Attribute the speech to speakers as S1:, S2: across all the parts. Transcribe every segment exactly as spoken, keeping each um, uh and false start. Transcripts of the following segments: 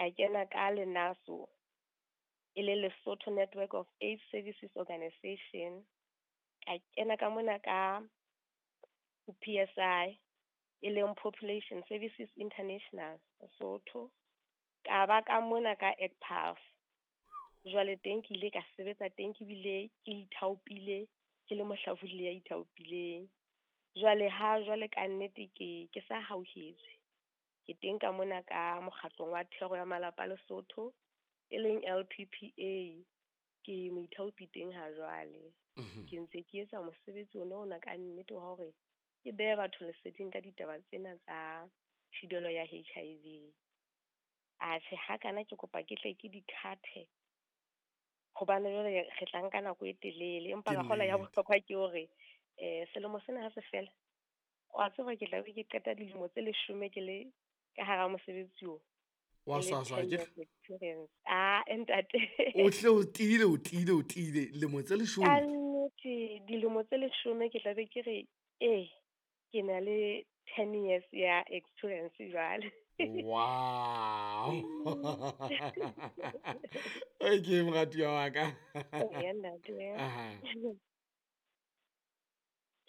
S1: Ka kena ka LENASO, e le Lesotho Network of AIDS Services Organization. Ka kena ka mona ka P S I, e leng Population Services International Lesotho. Ka ba ka mona ka E C P A F. Jwale teng ke ile ka sebetsa teng, ke bile ke ithaopile, ke le mohlabolli ya ithaopileng. Jwale ha jwale ka nnete ke, ke sa hauhetswe. Ke teng ka mona ka mokgatlong wa thero ya malapa Lesotho, e leng L P P A. Ke moithaopi teng ha jwale.
S2: Mhm.
S1: Ke ntse ke etsa mosebetsi ona ona ka nnete wa hore ke behe batho leseding ka ditaba tsena tsa thibelo ya H I V. Atjhe, ha kana ke kopa ke tle ke di-cut-e, hobane jwale re tla nka nako e telele, empa
S2: Ke
S1: ka kgola ya
S2: nnete.
S1: bohlokwa ke hore, eh, selemo sena ha se fela, wa tseba ke tla be ke qeta dilemo tse leshome ke le ka hara mosebetsi oo.
S2: Wa
S1: Ke le
S2: swaswa,
S1: ten
S2: ke
S1: years experience. Ah, ntate.
S2: O hle o tiile, o tiile, o tiile. Lemo tse leshome.
S1: Ka nnete, dilemo tse leshome ke tla be ke re, eh, ke na le ten years ya experience jwale.
S2: Wow. Okay, moratuwa wa ka.
S1: Eya, ntate.
S2: Aha.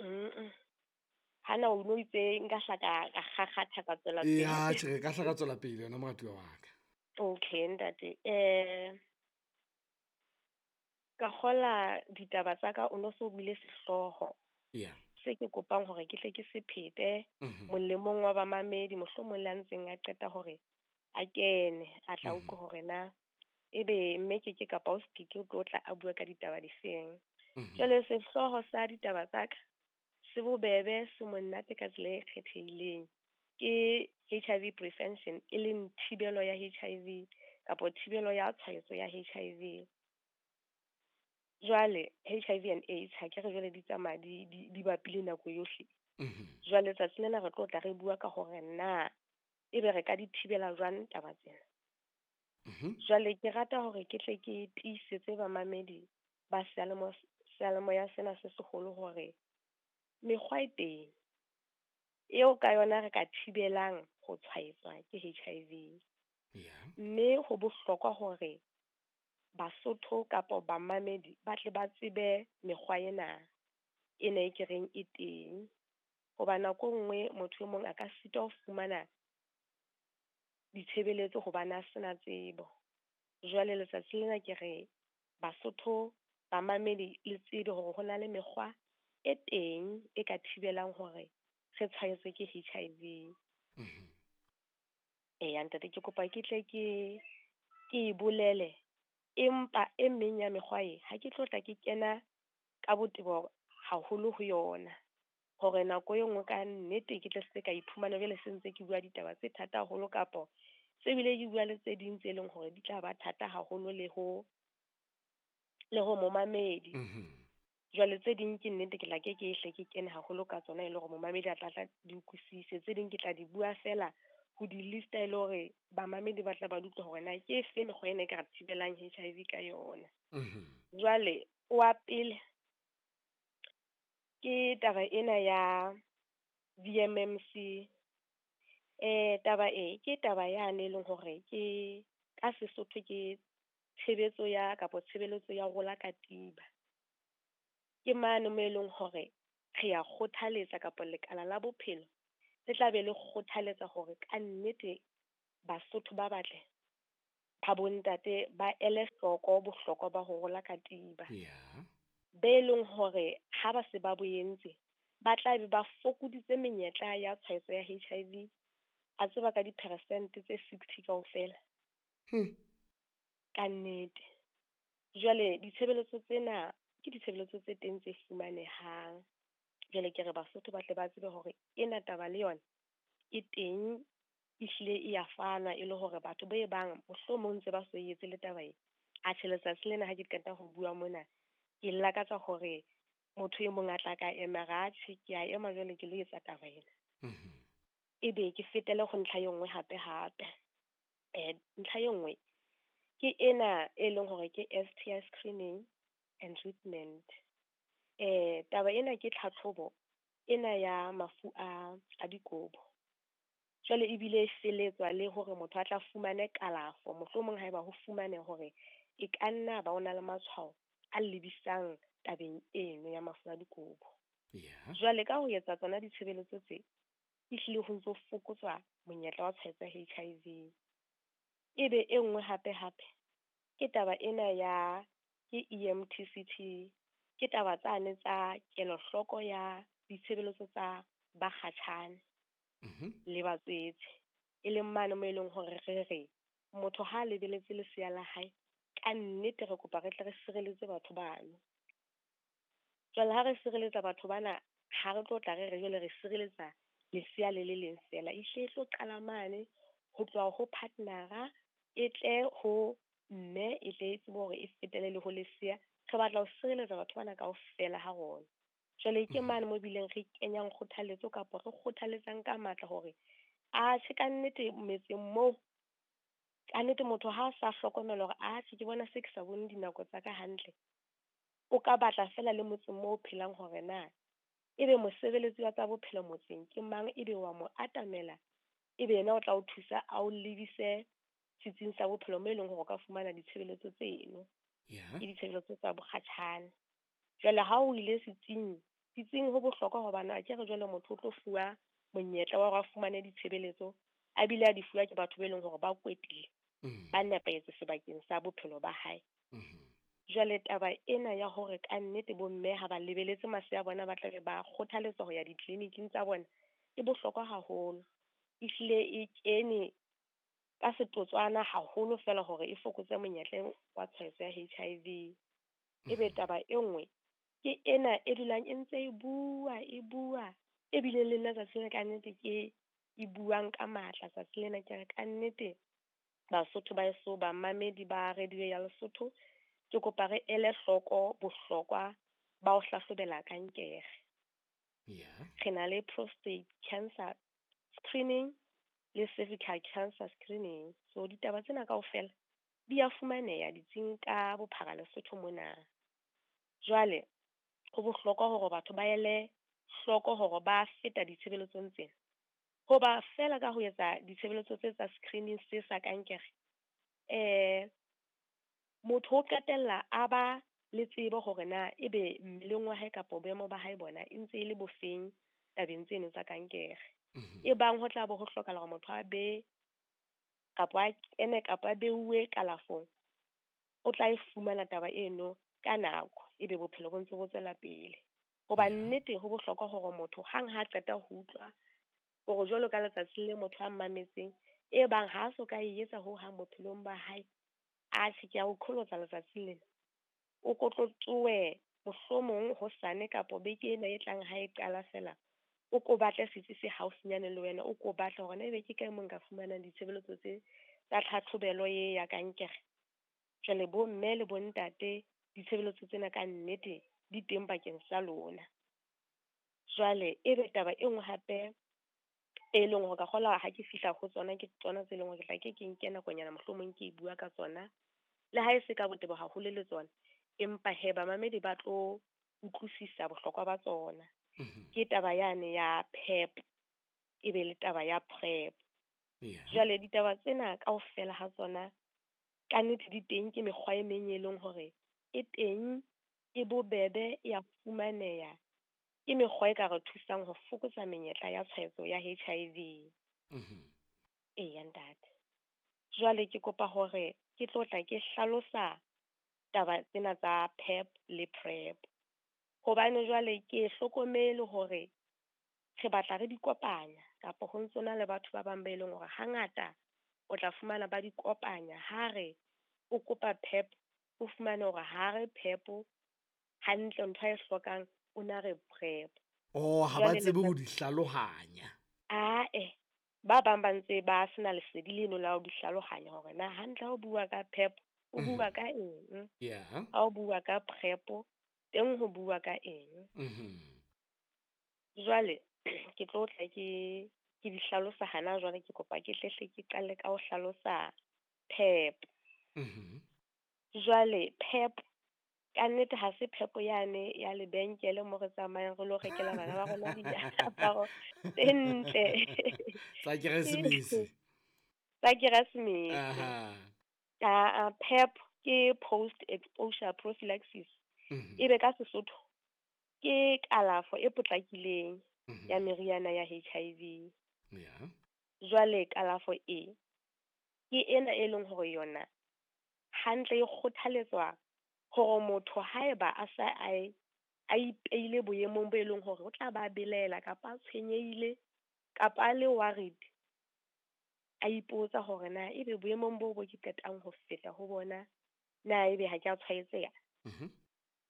S1: Mm-mm. Ha na o no itse nka hla ka, ka kgakgatha ka tswela pele.
S2: Ya, tjhe, re ka hla ka tswela pele yona moratuwa wa ka.
S1: Okay, ntate. Eh, ka kgola ditaba tsa ka o no so buile sehlooho.
S2: Yeah.
S1: Se ke kopang hore ke tle ke se phete
S2: Mhm.
S1: molemong wa bamamedi, mohlomong le a ntseng a qeta hore a kene, a tla
S2: Mhm.
S1: utlwa hore na ebe mme ke ke kapa o se ke ke tlo tla a bua ka ditaba difeng.
S2: Mhm.
S1: Jwale sehlooho sa ditaba tsa ka se bobebe, se monate ka tsela e kgethehileng. Ke H I V prevention, e leng thibelo ya H I V kapa thibelo ya tshwaetso ya H I V. Jwale H I V and AIDS ha ke re jwale di tsamaya di, di, di bapile nako yohle.
S2: Mhm.
S1: Jwale tsatsi lena re tlo tla re bua ka hore na ebe re ka di thibela jwang taba tsena.
S2: Mhm.
S1: Jwale ke rata hore ke tle ke tiisetse bamamedi ba seyalemoya, seyalemoya sena se seholo hore mekgwa e teng eo ka yona re ka thibelang ho tshwaetswa ke H I V.
S2: Yeah.
S1: Mme ho bohlokwa hore Basotho kapa bamamedi ba tle ba tsebe mekgwa ena e ne e ke reng e teng. Hoba nako e nngwe motho e mong a ka sitwa ho fumana ditshebeletso hobane a sena tsebo. Jwale letsatsi lena ke re Basotho bamamedi le tsebe hore ho na le mekgwa e teng e ka thibelang hore re tshwaetswe ke H I V.
S2: Mhm.
S1: Eya, ntate, ke kopa ke tle ke, ke e bolele, empa e meng ya mekgwa e ha ke tlo tla ke kena ka botebo haholo ho yona, hore nako e nngwe ka nnete ke tle se ka iphumana jwale se ntse ke bua ditaba tse thata haholo, kapo se bile ke bua le tse ding tse leng hore di tla ba thata haholo le ho, le ho momamedi.
S2: Mhm.
S1: Jwale tse ding ke nnete ke tla ke ke hle ke kene haholo ka tsona e le hore momamedi a tla tla di utlwisise. Tse ding ke tla di bua fela ho di lista e le hore bamamedi ba tla ba utlwa hore na ke efe mekgwa ena e ka re thibelang H I V ka yona.
S2: Mhm.
S1: Jwale wa pele ke taba ena ya V M M C. Eh, taba e ke taba yane e leng hore ke ka Sesotho ke tshebetso ya kapa tshebeletso ya rola katiba. Ke mane mo e leng hore re ya kgothaletsa kapa lekala la bophelo le tla be le kgothaletsa hore ka nnete Basotho ba batle ba bontate ba ele hloko bohlokwa ba ho rola katiba.
S2: Yeah.
S1: Be leng hore ha ba se ba bo entse, ba tla be ba fokoditse menyetla ya tshwaetso ya H I V, a tseba ka diperesente tse sixty kaofela.
S2: Hmm.
S1: Ka nnete. Jwale ditshebeletso tsena ke ditshebeletso tse teng tse fumanehang. Jwale ke re Basotho ba tle ba tsebe hore ena taba le yona e teng, ehlile e ya fanwa e le hore batho ba e bang mohlomong ntse ba so etse le taba e. Atjhe, letsatsi lena ha ke qeta ho bua mona, ke lakatsa hore motho e mong a tla ka ema ra atjhe, ke a ema jwale ke lo etsa taba ena.
S2: Mhm.
S1: Ebe ke fetele ho ntlha e nngwe hape hape. Eh, ntlha e nngwe ke ena e leng hore ke S T I screening and treatment. Eh, taba ena ke tlhatlhobo ena ya mafu a, a dikobo. Jwale ebile e feletswa le hore motho a tla fumane kalafo, mohlomong haeba ho fumane hore e ka nna ba o na le matshwao a lebisang tabeng eno ya mafu a dikobo.
S2: Yeah.
S1: Jwale ka ho etsa tsona ditshebeletso tse, ehlile ho ntso fokotswa monyetla wa tshwaetso ya H I V. Ebe e nngwe hape hape ke taba ena ya ke E M T C T, ke taba tsane tsa kelohloko ya ditshebeletso tsa bakgatjhane
S2: Mhm.
S1: le batswetse, e leng mane mo e leng hore re re motho ha lebeletse lesea la hae, ka nnete re kopa re tle re sireletse batho bano. Jwale ha re sireletsa batho bana, ha re tlo tla re re jwale re sireletsa lesea le le leng fela, ehlile e tlo qala mane ho tloha ho partner-a, e tle ho mme, e tle e tsebe hore e fetele le ho lesea. Re batla ho sireletsa batho bana kaofela ha rona. Jwale ke
S2: Mhm.
S1: mane mo bileng re kenyang kgothaletso kapa re kgothaletsang ka matla hore atjhe ka nnete metseng moo, ka nnete motho ha a sa hlokomela hore atjhe ke bona se ke sa bone dinako tsa ka hantle, o ka batla fela le motseng moo o phelang hore na ebe mosebeletsi wa tsa bophelo motseng ke mang, ebe wa mo atamela, ebe yena o tla o thusa a o lebise setsing sa bophelo mo e leng hore o ka fumana ditshebeletso tseno.
S2: Yeah.
S1: Ke ditshebeletso tsa bokgatjhane. Jwale ha o ile setsing, setsing ho bohlokwa hobane akere jwale motho o tlo fuwa monyetla wa hore a fumane ditshebeletso, a bile a di fuwa ke batho ba e leng hore ba kwetlile,
S2: Mm.
S1: ba nepahetse sebakeng sa bophelo ba hae.
S2: Mm-hmm.
S1: Jwale taba ena ya hore ka nnete bomme ha ba lebeletse masea a bona ba tla be ba kgothaletswa ho ya ditleliniking tsa bona, e bohlokwa haholo. Ehlile e kene ka setotswana haholo fela hore e fokotse monyetla wa tshwaetso ya H I V. Ebe
S2: Mm-hmm.
S1: taba e nngwe ke ena e dulang e ntse e bua, e bua, ebile le nna tsatsi lena ka nnete ke e buang ka matla tsatsi lena, ke re ka nnete Basotho ba heso, bamamedi ba radio ya Lesotho, ke kopa re ele hloko bohlokwa ba ho hlahlobela kankere.
S2: Yeah.
S1: Re na le prostate cancer screening le cervical cancer screening. So ditaba tsena kaofela di a fumaneha ditsing ka bophara Lesotho mona. Jwale ho bohlokwa hore batho ba ele hloko hore ba feta ditshebeletsong tsena. Hoba fela ka ho etsa ditshebeletso tse tsa screening se sa kankere, eh, motho o qetella a ba le tsebo hore na ebe mmeleng wa hae kapa boemo ba hae bona e ntse e le bofeng tabeng tseno tsa kankere.
S2: Mhm.
S1: E bang ho tla bo ho hlokahala hore motho a be kapa a kene kapa a beuwe kalafong, o tla e fumana taba eno ka nako, ebe bophelo bo ntse bo tswela pele. Hoba
S2: Yeah.
S1: nnete ho bohlokwa hore motho hang ha qeta ho utlwa hore jwalo ka letsatsi le motho a mmametseng, e bang ha a so ka e etsa ho hang bophelong ba hae, atjhe ke a o qholotsa letsatsi lena, o ko tlo tsohe mohlomong hosane kapo beke ena e tlang ha e qala fela, o ko batle setsi se haufinyane le wena, o ko batle hore na ebe ke kae mo nka fumanang ditshebeletso tse tsa tlhatlhobelo e ya kankere. Jwale bo mme le bo ntate, ditshebeletso tsena ka nnete di teng bakeng sa lona. Jwale ebe taba e nngwe hape e leng hore ka kgolwa ha ke fihla ho tsona, ke tsona tse leng hore ke tla ke ke nke nakonyana mohlomong ke e bua ka tsona, le ha e se ka botebo haholo le tsona, empa he bamamedi ba tlo utlwisisa bohlokwa ba tsona.
S2: Mhm.
S1: Ke taba yane ya PEP, e be le taba ya PrEP.
S2: Yeah.
S1: Jwale ditaba tsena kaofela ha tsona ka nnete di teng, ke mekgwa e meng e leng hore e teng, e bobebe, e a fumaneha, ke mekgwa e ka re thusang ho fokotsa menyetla ya tshwaetso ya H I V.
S2: Mhm.
S1: Eya ntate. Jwale ke kopa hore ke tlo tla ke hlalosa taba tsena tsa PEP le PrEP. Hobane jwale ke hlokomele hore re batla re di kopanya, kapa ho ntso na le batho ba bang ba e leng hore hangata o tla fumana ba di kopanya. Ha re o kopa PEP, o fumane hore ha re PEP hantle, ntho a e hlokang o na re PrEP.
S2: Oh, ha ba
S1: Jwale
S2: tsebe ho
S1: letsatsi
S2: di hlalohanya.
S1: Ae, ba bang ba ntse ba sena lesedi leno la ho di hlalohanya hore na hantle ha o bua ka PEP, o
S2: Mhm.
S1: bua ka eng?
S2: Yeah.
S1: Ha o bua ka PrEP, teng ho bua ka eng?
S2: Mhm.
S1: Jwale ke tlo tla ke, ke di hlalosa hana jwale, ke kopa ke hlehle ke qale ka ho hlalosa PEP.
S2: Mhm.
S1: Jwale PEP Ka nnete ha se phepo yane ya lebenkele mo re tsamayang re lo rekela bana ba rona diaparo tse ntle.
S2: Tsa Keresemese.
S1: Tsa Keresemese.
S2: Aha.
S1: Ah, PEP ke post exposure prophylaxis.
S2: Mhm.
S1: Ebe ka Sesotho ke kalafo e potlakileng
S2: Mhm.
S1: ya meriana ya H I V.
S2: Yeah.
S1: Jwale kalafo e ke ena e leng hore yona hantle e kgothaletswa hore motho haeba a sa a, a ipeile boemong bo e leng hore o tla ba belaela kapa a tshwenyehile kapa a le worried, a ipotsa hore na ebe boemong bo bo ke qetang ho feta ho bona na ebe ha ke a tshwaetseha.
S2: Mhm.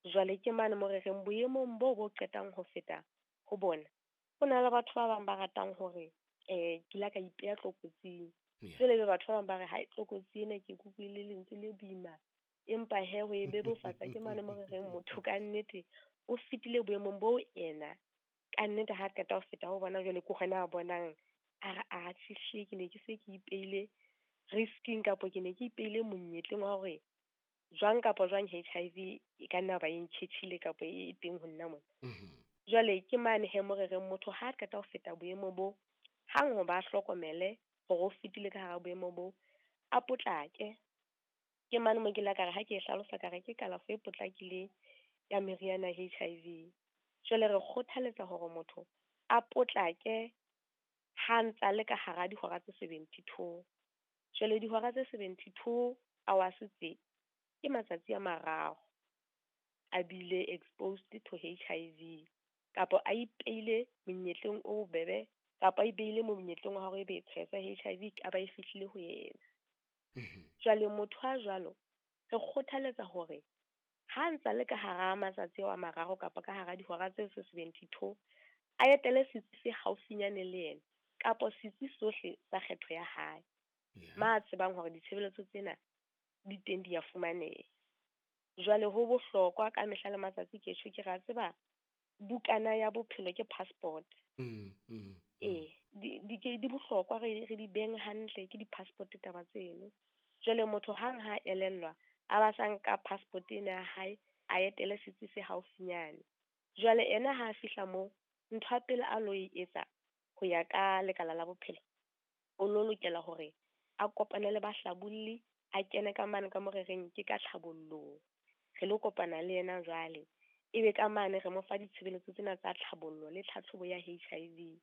S1: Jwale ke mane mo re reng boemong bo bo qetang ho feta ho bona, ho na le batho ba bang ba ratang hore, eh, ke la ka ipeha tlokotsing.
S2: Yeah.
S1: Jwale ebe batho ba bang ba re, hai, tlokotsi ena ke kutlwile lentswe le boima, empa he ho e bebofatsa ke mane mo re reng motho ka nnete o fetile boemong bo ena ka nnete ha qeta ho feta ho bona jwale ke hona a bonang a re, a tjhe, ke ne ke se ke ipeile risking kapo ke ne ke ipeile monyetleng wa hore jwang kapa jwang H I V e ka nna ba e ntjhetjhile kapa e teng ho nna mona.
S2: Mhm.
S1: Jwale ke mane he mo re reng motho ha qeta ho feta boemo bo, hang ho ba hlokomele hore o fetile ka hara boemo bo, a potlake. Ke mane mo ke la ka re ha ke e hlalosa ka re ke kalafo e potlakileng ya meriana ya H I V. Jwale re kgothaletsa hore motho a potlake ha ntsa le ka hara dihora tse seventy-two. Jwale dihora tse seventy-two hours tse ke matsatsi a mararo a bile exposed to H I V kapa a ipeile monyetleng o bobebe kapa a ipeile monyetleng wa hore ebe tshwaetso ya H I V ka ba e fihlile ho yena.
S2: Mhm.
S1: Jwale motho a jwalo re kgothaletsa hore ha ntsa le ka hara matsatsi ao a mararo kapa ka hara dihora tse seventy-two a etele setsi se haufinyane le yena kapa setsi sohle sa kgetho ya hae.
S2: Yeah.
S1: Ma tsebang hore ditshebeletso tsena di teng di a fumaneha. Jwale ho bohlokwa ka mehla le matsatsi ke tjho ke ra tseba bukana ya bophelo ke passport.
S2: Mm, mm, mm.
S1: Eh, di, di ke, di bohlokwa re, re di beng hantle ke di-passport taba tseno. Jwale motho hang ha elellwa a ba sa nka passport ena ya hae a etele setsi se haufinyane. Jwale ena ha a fihla moo, ntho ya pele a lo e etsa ho ya ka lekala la bophelo, o lo lokela hore a kopane le bahlabolli, a kene ka mane ka mo re reng ke ka tlhabollong. Re lo kopana le yena jwale, ebe ka mane re mo fa ditshebeletso tsena tsa tlhabollo le tlhatlhobo ya H I V.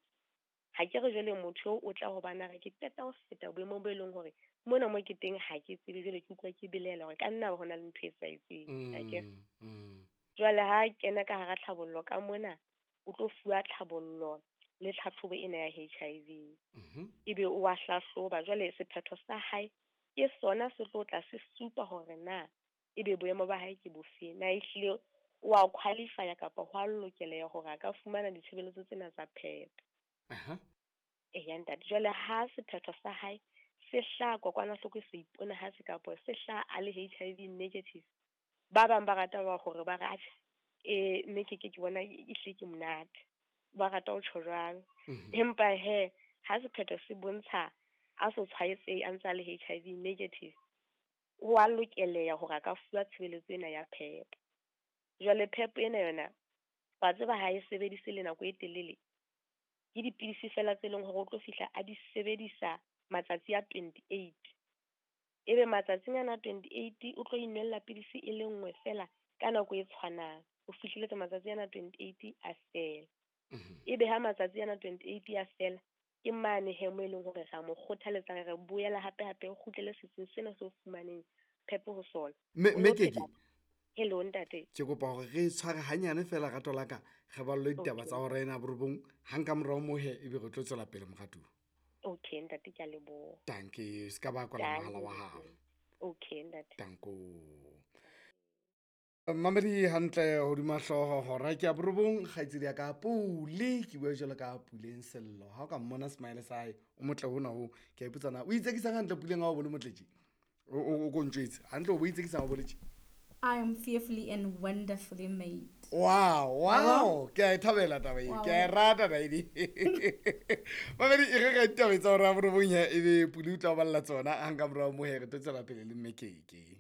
S1: Ha ke re jwale motho eo o tla ho bana re ke qeta ho feta boemong bo e leng hore mona mo ke teng ha ke tsebe, jwale ke utlwa ke belaela hore ka nna ho na le ntho e sa etseng. Ha ke re.
S2: Mm, mm.
S1: Jwale ha kena ka hara tlhabollo ka mona, o tlo fuwa tlhabollo le tlhatlhobo ena ya H I V.
S2: Mhm.
S1: Ebe o wa hlahloba. Jwale sephetho sa hae ke sona se tlo tla se supa hore na ebe boemo ba hae ke bofe, na ehlile o a qualify-a kapa ho a lokeleha hore a ka fumana ditshebeletso tsena tsa PEP.
S2: Aha.
S1: Eya ntate, jwale ha sephetho sa hae se hlaha kokwanahloko e se iponahatse kapa se hlaha a le H I V negative, ba bang ba rata ba hore ba re, atjhe, eh, mme ke ke ke bona e hlile ke monate, ba rata ho tjho jwalo.
S2: Mhm.
S1: Empa he, ha sephetho se bontsha a so tshwaetsehe a ntse a le H I V negative, ho a lokeleha hore a ka fuwa tshebeletso ena ya PEP. Jwale PEP ena yona, wa tseba ha e sebedise le nako e telele, ke dipidisi fela tse leng hore o tlo fihla a di sebedisa matsatsi a twenty-eight. Ebe matsatsing ana a twenty-eight o tlo inwella pidisi e le nngwe fela ka nako e tshwanang, ho fihleletse matsatsi ana a twenty-eight a fela.
S2: Mhm.
S1: Ebe ha matsatsi ana a twenty-eight a fela, ke mane he mo e leng hore ra mo kgothaletsa re re boela hape hape o kgutlele setsing sena seo fumaneng PEP ho sona.
S2: Mme,
S1: O
S2: mme
S1: lo
S2: Keke,
S1: pheta. Hello ntate.
S2: Ke kopa hore re tshware hanyane fela rato la ka, re ballwe ditaba
S1: Okay.
S2: tsa hora ena borobong, hang ka morao moo he ebe re tlo tswela pele moratuwa.
S1: Okay ntate, ke a leboha.
S2: Dankie, se ka ba kwala
S1: Dankie.
S2: mohala wa hao.
S1: Okay ntate.
S2: Danko. Mamedi hantle hodima hlooho hora ke ya borobong, kgaitsedi ya ka Pule, ke bua jwalo ka Puleng Sello. Ha o ka mmona smile sa hae, o motle hona hoo. Ke a ipotsa na o itsekisang hantle Puleng ha o bone motle tje? O, o, o ko ntjwetse. Hantle o bo itsekisang ha o bone tje?
S3: I am fearfully and wonderfully made.
S2: Wow, wow. Ke a e thabela taba e.
S3: Wow.
S2: Ke a e rata taba e. Mamedi, e re ka ditaba tsa hora ya borobong ya, ebe Pule o tla o balla tsona, hang ka morao moo he re tlo tswela pele le Mme Keke.